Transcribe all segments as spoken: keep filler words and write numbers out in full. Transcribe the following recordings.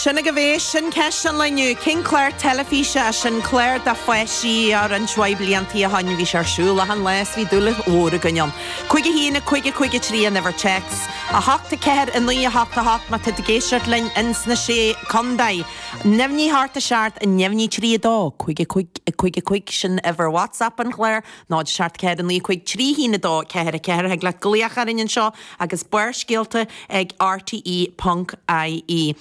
Sin agaibh é, sin ceist an lae inniu. Cén clár teilifíse é sin clár do pháistí ar roinnt mhaith bliantaí ó shin bhí sé ar siúl achan lá is bhí dúil mhór againn ann. Cúig a haon a cúig a cúig a trí an uimhir téacs. A hocht a ceathair a naoi a hocht a hocht má tá tú ag éisteacht linn ins na sé contae. Neamhní hocht a seacht a neamhní trí a dó, cúig a cúig a cúig a cúig sin uimhir WhatsApp an chláir, náid seacht ceathair a naoi cúig trí haon a dó ceathair a ceathair thig leat glaoch orainn anseo agus Barrscéalta ag RTE ponc IE.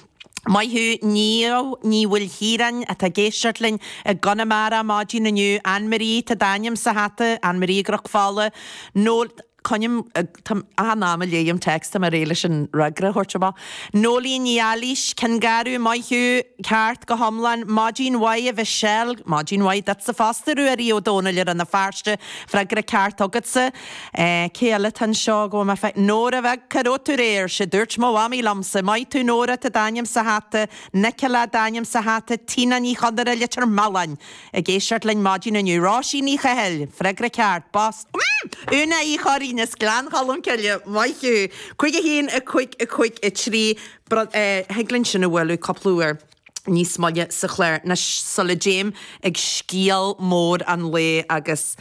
Maith thú Niamh Ní Mhaoilchiaráin atá ag éisteacht linn i gConamara maidin inniu Anne-Marie tá d'ainm sa hata Anne-Marie i gCnoc Fola nó Coinnim achan am a léim text tá mé réidh leis an fhreagra a thabhairt amach. Nólín Ní Eilís Cionn Garbh maith thú ceart go hiomlán Maidin mhaith a Mhichelle Maidin mhaith duitse fosta Ruairí Ó Dónaill ar na Feirste freagra ceart agatsa. Eh, cé eile tá anseo go bhfuil mé fe Nóra bheag cá raibh tú aréir sé dúirt mo mhamaí liomsa, Maith tú Nóra tá d'ainm sa hata, Nicola d'ainm sa hata, Tina Ní Chonaire Leitir Mealláin ag éisteacht linn maidin inniu Róisín Ní Chathail, freagra ceart, bos. Mm! Úna Uí Chorraí as Gleann Cholm Cille, maith thú. Cúig a haon a cúig a cúig a trí thig linn sin a bhualadh cúpla uair níos moille sa chlár na sula dtéim ag scéal mór an lae agus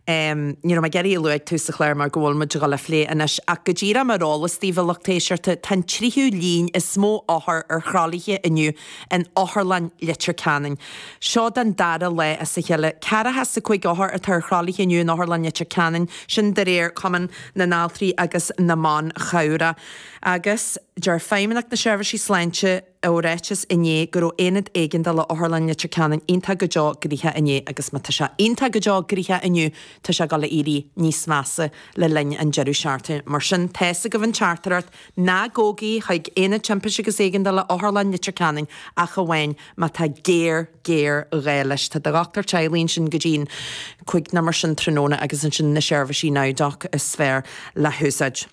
Um, ní raibh mé ag iarraidh a lua ag tús an chláir mar go bhfuil muid ag dul a phlé anois ach go díreach mar eolas daoibh a lucht éisteachta tá an tríú líon is mó othar ar throlaithe inniu in Otharlann Leitir Ceanainn. Seo den dara lá as a chéile ceathracha is a cúig othar atá ar throlaithe inniu in Otharlann Leitir Ceanainn sin de réir Cumann na nAltraí agus na mBan Chabhrach. Agus deir Feidhmeannacht na Seirbhísí Sláinte i ráiteas inné go raibh aonad éigeandála Otharlann Leitir Ceanainn iontach go deo gnoitheach inné agus má tá sé iontach go deo gnoitheach inniu tá sé ag dul a éirí níos measa le linn an deireadh seachtaine. Mar sin tá's agaibh an teachtaireacht ná gabhaigí chuig aonad timpiste agus éigeandála Otharlann Leitir Ceanainn ach amháin má tá géar géar ghá leis Tá do dhochtúir teaghlaigh ansin go dtí an cúig nó mar sin tráthnóna agus ansin na seirbhísí NowDoc is fearr le húsáid.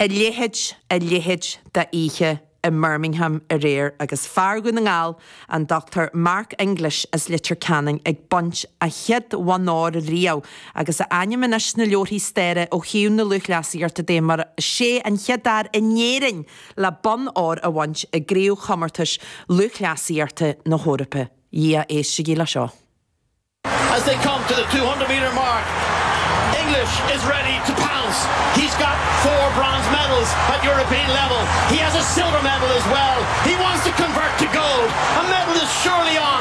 A leithéid a leithéid d'oíche i mBirmingham aréir agus fear Dhún na nGall an Dr Mark English as Leitir Ceanainn ag baint a chéad bhonn óir riamh agus a ainm anois sna leabharthaí staire ó thaobh na lúthchleasaíochta de mar sé an chéad fhear in Éirinn le bonn óir a bhaint i gcraobhchomórtais lúthchleasaíochta na hEorpa. Dhia éistigí le seo. As they come to the two hundred meter mark, English is ready to pounce. He's got four bronze medals at European level. He has a silver medal as well. He wants to convert to gold. A medal is surely on